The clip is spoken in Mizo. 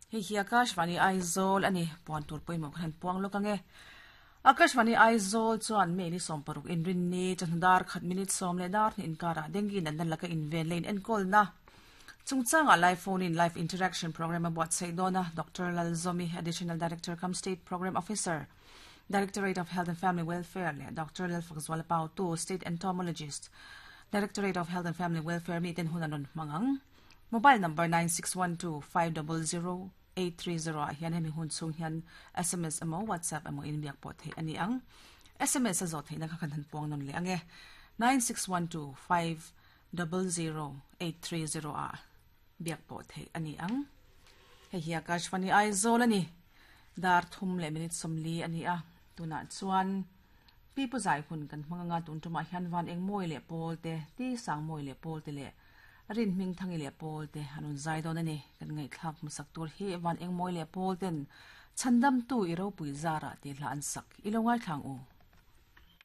Hei hi Akashvani Aizawl a ni, puan tur pawimawh khan han puang lawk ang e. Akashvani Aizawl chuan May ni 60 inrinni chawhnu dar khat minute 12 inkarah dengue natna laka inven leh inenkawlna chungchangah live phone in live interaction program a buatsaih dawn a, Doctor Lalzomi, Additional Director cum State Programme Officer, Directorate of Health and Family Welfare leh Doctor Lalfakzuala Pautu, State Entomologist, Directorate of Health and Family Welfare miten hun an rawn hmang ang. Mobile number 9612500830 ah hian hemi hun chhung hian sms emaw WhatsApp emaw in biak pawh theih a ni ang. Sms a zawh theihna kha kan han puang nawn leh ang e. 9612500830 ah biak pawh theih a ni ang. Hei hi Akashvani Aizawl a ni. Dar thum leh minute 40 a ni a. Tunah chuan Pipu zai hun kan hmang anga tun tumah hian van eng mawi leh pawl te, ti sang mawi leh pawl te leh rin hming thangi leh pawl te an rawn zai dawn a ni. Kan ngaihthlak hmasak tur hi van eng mawi leh pawl ten chhandamtu i ropui zarah tih hla an sak i lo ngaithla ang u.